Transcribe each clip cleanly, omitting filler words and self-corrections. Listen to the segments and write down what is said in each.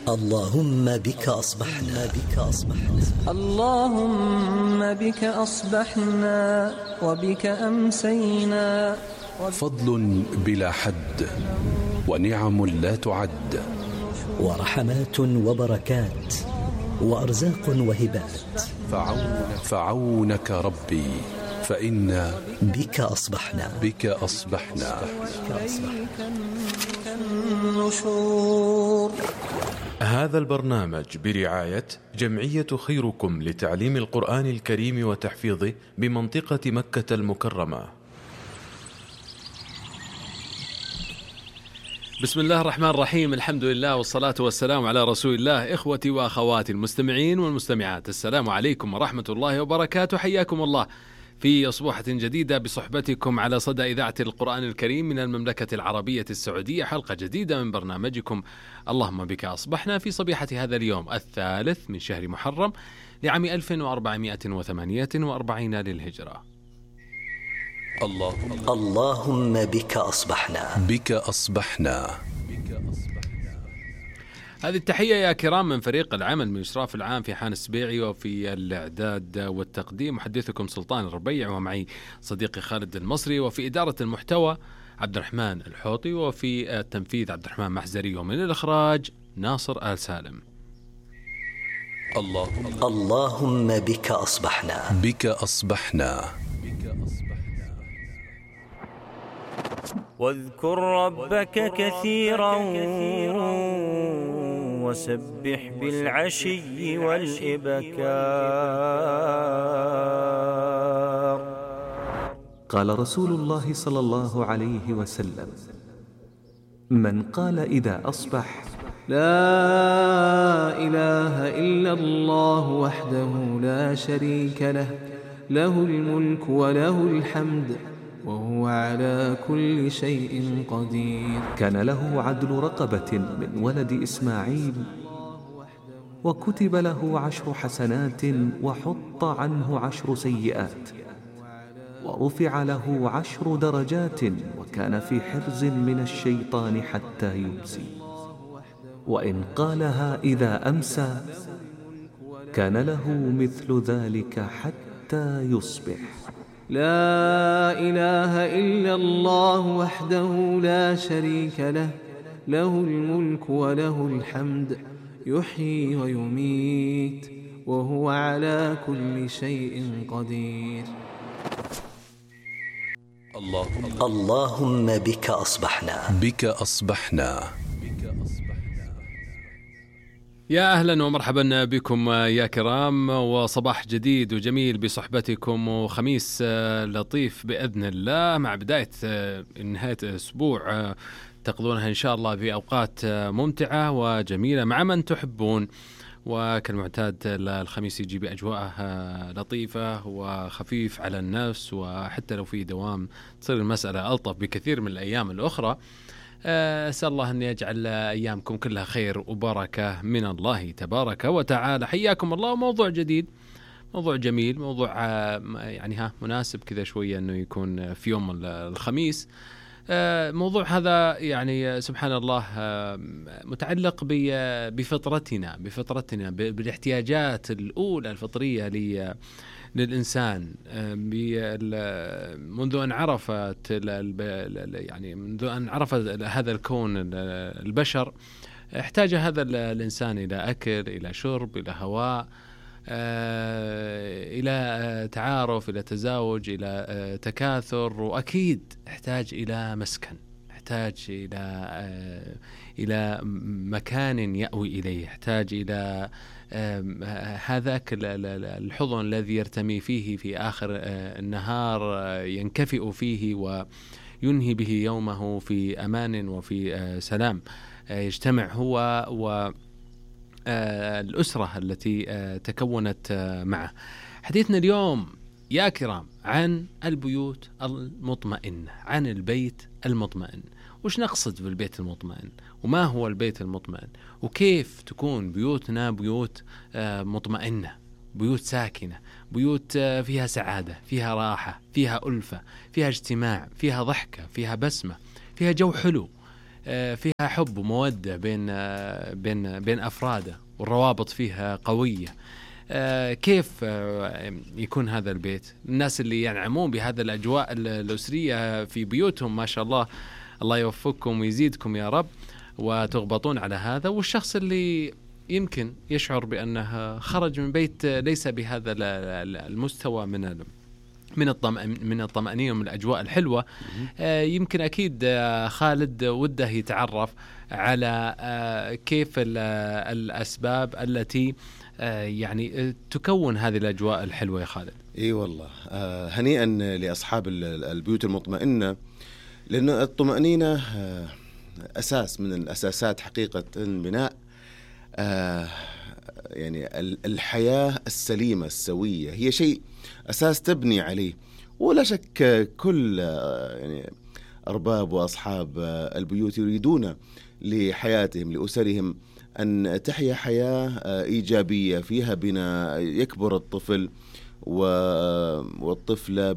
اللهم بك أصبحنا اللهم بك أصبحنا وبك أمسينا. فضل بلا حد ونعم لا تعد، ورحمات وبركات وأرزاق وهبات. فعونك ربي فإنا بك أصبحنا النشور. هذا البرنامج برعاية جمعية خيركم لتعليم القرآن الكريم وتحفيظه بمنطقة مكة المكرمة. بسم الله الرحمن الرحيم، الحمد لله والصلاة والسلام على رسول الله. إخوتي وأخواتي المستمعين والمستمعات، السلام عليكم ورحمة الله وبركاته. حياكم الله في أصبحة جديدة بصحبتكم على صدى إذاعة القرآن الكريم من المملكة العربية السعودية. حلقة جديدة من برنامجكم اللهم بك أصبحنا في صبيحة هذا اليوم الثالث من شهر محرم لعام 1448 للهجرة. اللهم بك أصبحنا. هذه التحية يا كرام من فريق العمل من إشراف العام في حان السبيعي، وفي الإعداد والتقديم محدثكم سلطان الربيع، ومعي صديقي خالد المصري، وفي إدارة المحتوى عبد الرحمن الحوطي، وفي التنفيذ عبد الرحمن محزري، ومن الإخراج ناصر آل سالم. اللهم بك أصبحنا. واذكر ربك كثيرا وسبح بالعشي والإبكار. قال رسول الله صلى الله عليه وسلم: من قال إذا أصبح: لا إله إلا الله وحده لا شريك له، له الملك وله الحمد وهو على كل شيء قدير، كان له عدل رقبة من ولد إسماعيل، وكتب له 10 حسنات وحط عنه 10 سيئات، ورفع له 10 درجات، وكان في حرز من الشيطان حتى يمسي. وإن قالها إذا أمسى كان له مثل ذلك حتى يصبح. لا إله إلا الله وحده لا شريك له، له الملك وله الحمد يحيي ويميت وهو على كل شيء قدير. اللهم بك أصبحنا. يا أهلا ومرحبا بكم يا كرام، وصباح جديد وجميل بصحبتكم، وخميس لطيف بإذن الله مع بداية نهاية أسبوع تقضونها إن شاء الله بأوقات ممتعة وجميلة مع من تحبون. وكالمعتاد الخميس يجي بأجواء لطيفة وخفيف على النفس، وحتى لو في دوام تصير المسألة ألطف بكثير من الأيام الأخرى. أسأل الله أن يجعل أيامكم كلها خير وبركة من الله تبارك وتعالى. حياكم الله. موضوع جديد، موضوع جميل، موضوع يعني مناسب كذا شوية أنه يكون في يوم الخميس. موضوع هذا يعني سبحان الله متعلق بفطرتنا بالاحتياجات الأولى الفطرية للإنسان منذ أن عرفت هذا الكون البشر. احتاج هذا الإنسان إلى أكل، إلى شرب، إلى هواء، إلى تعارف، إلى تزاوج، إلى تكاثر، وأكيد احتاج إلى مسكن، يحتاج إلى مكان يأوي إليه، يحتاج إلى هذاك الحضن الذي يرتمي فيه في آخر النهار، ينكفئ فيه وينهي به يومه في أمان وفي سلام، يجتمع هو والأسرة التي تكونت معه. حديثنا اليوم يا كرام عن البيوت المطمئنة، عن البيت المطمئن. وش نقصد بالبيت المطمئن؟ وما هو البيت المطمئن؟ وكيف تكون بيوتنا بيوت مطمئنة، بيوت ساكنة، بيوت فيها سعادة، فيها راحة، فيها ألفة، فيها اجتماع، فيها ضحكة، فيها بسمة، فيها جو حلو، فيها حب ومودة بين أفراده، والروابط فيها قوية. كيف يكون هذا البيت؟ الناس اللي ينعمون بهذا الأجواء الأسرية في بيوتهم ما شاء الله، الله يوفقكم ويزيدكم يا رب، وتغبطون على هذا. والشخص اللي يمكن يشعر بأنه خرج من بيت ليس بهذا المستوى من الطمأنينة ومن الأجواء الحلوة، يمكن أكيد خالد وده يتعرف على كيف الأسباب التي يعني تكون هذه الأجواء الحلوة يا خالد. اي والله، هنيئا لأصحاب البيوت المطمئنة، لأن الطمأنينة أساس من الأساسات حقيقة بناء يعني الحياة السليمة السوية، هي شيء أساس تبني عليه. ولا شك كل يعني أرباب وأصحاب البيوت يريدون لحياتهم لأسرهم أن تحيا حياة إيجابية فيها بناء، يكبر الطفل والطفلة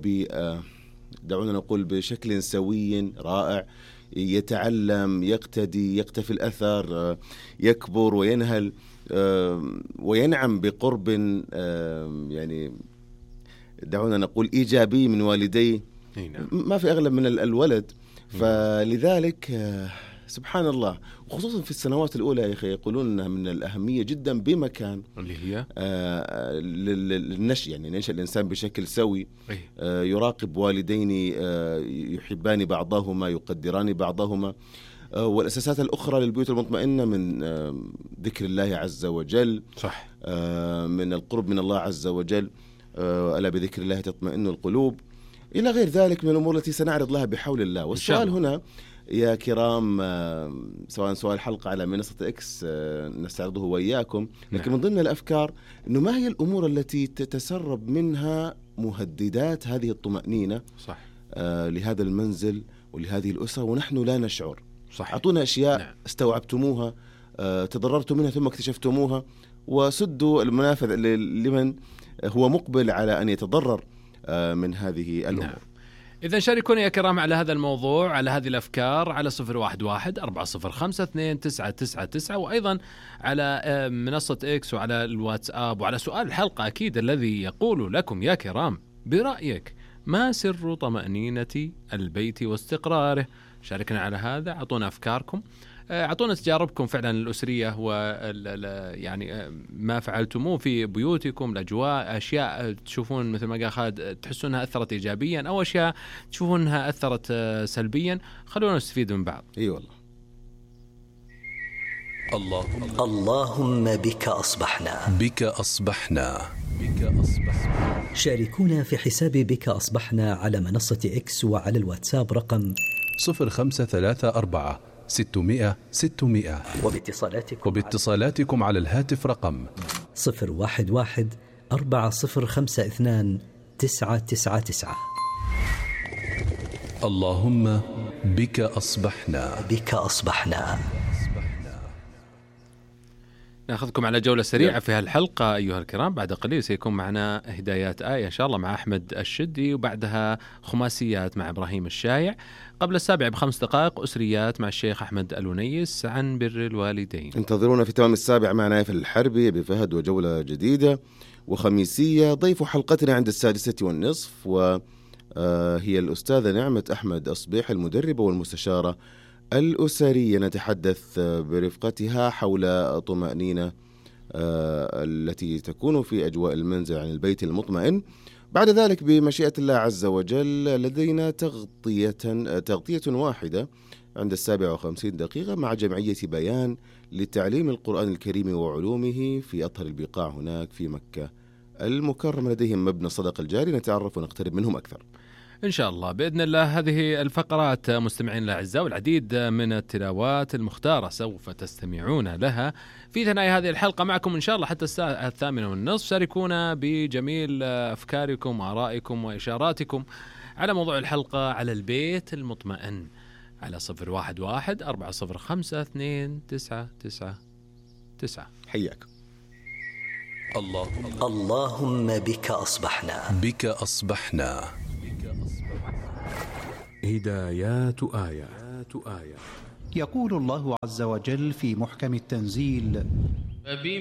دعونا نقول بشكل سوي رائع، يتعلم، يقتدي، يقتفي الأثر، يكبر وينهل وينعم بقرب يعني دعونا نقول إيجابي من والديه، ما في أغلب من الولد. فلذلك سبحان الله، وخصوصا في السنوات الأولى يا أخي يقولون أنها من الأهمية جدا بمكان، اللي هي للنشء، يعني ننشأ الإنسان بشكل سوي، يراقب والدين يحبان بعضهما، يقدران بعضهما. والأساسات الأخرى للبيوت المطمئنة من ذكر الله عز وجل، صح، من القرب من الله عز وجل، ألا بذكر الله تطمئن القلوب، إلى غير ذلك من الأمور التي سنعرض لها بحول الله. والسؤال هنا يا كرام، سواء سؤال حلقة على منصة إكس نستعرضه وإياكم، لكن من ضمن الأفكار إنه ما هي الأمور التي تتسرب منها مهددات هذه الطمأنينة، صح، لهذا المنزل ولهذه الأسرة ونحن لا نشعر. صح. أعطونا أشياء استوعبتموها، تضررتم منها ثم اكتشفتموها، وسدوا المنافذ لمن هو مقبل على أن يتضرر من هذه الأمور. إذا شاركونا يا كرام على هذا الموضوع، على هذه الأفكار، على 011-405-2999، وأيضا على منصة إكس وعلى الواتساب، وعلى سؤال الحلقة أكيد الذي يقول لكم يا كرام: برأيك ما سر طمأنينة البيت واستقراره؟ شاركنا على هذا، أعطونا أفكاركم، أعطونا تجاربكم فعلا الأسرية، يعني ما فعلتموه في بيوتكم، الأجواء، أشياء تشوفون مثل ما قال خالد تحسونها أثرت إيجابيا، أو أشياء تشوفونها أثرت سلبيا. خلونا نستفيد من بعض. أي والله. اللهم بك أصبحنا، بك أصبحنا، بك أصبحنا. شاركونا في حساب بك أصبحنا على منصة إكس وعلى الواتساب رقم 0534-600-600، وباتصالاتكم على الهاتف رقم 011-4052-999. اللهم بك أصبحنا، بك أصبحنا. ناخذكم على جولة سريعة في هالحلقة أيها الكرام. بعد قليل سيكون معنا هدايات آية إن شاء الله مع أحمد الشدي، وبعدها خماسيات مع إبراهيم الشايع. قبل 7 ب5 دقائق أسريات مع الشيخ أحمد الونيس عن بر الوالدين. انتظرونا في تمام 7 مع نايف الحربي بفهد وجولة جديدة وخميسية. ضيف حلقتنا عند 6:30 وهي الأستاذة نعمة أحمد أصبيح، المدربة والمستشارة الأسرية. نتحدث برفقتها حول طمأنينة التي تكون في أجواء المنزل عن البيت المطمئن. بعد ذلك بمشيئة الله عز وجل لدينا تغطية واحدة عند 57 دقيقة مع جمعية بيان لتعليم القرآن الكريم وعلومه في أطهر البقاع هناك في مكة المكرمة. لديهم مبنى صدقة الجاري، نتعرف ونقترب منهم أكثر إن شاء الله بإذن الله. هذه الفقرات مستمعين الأعزاء والعديد من التلاوات المختارة سوف تستمعون لها في ثنايا هذه الحلقة معكم إن شاء الله حتى الساعة 8:30. شاركونا بجميل أفكاركم وآرائكم وإشاراتكم على موضوع الحلقة على البيت المطمئن على 011-405-2999. حياكم. اللهم بك أصبحنا، بك أصبحنا. هدايات آية. يقول الله عز وجل في محكم التنزيل: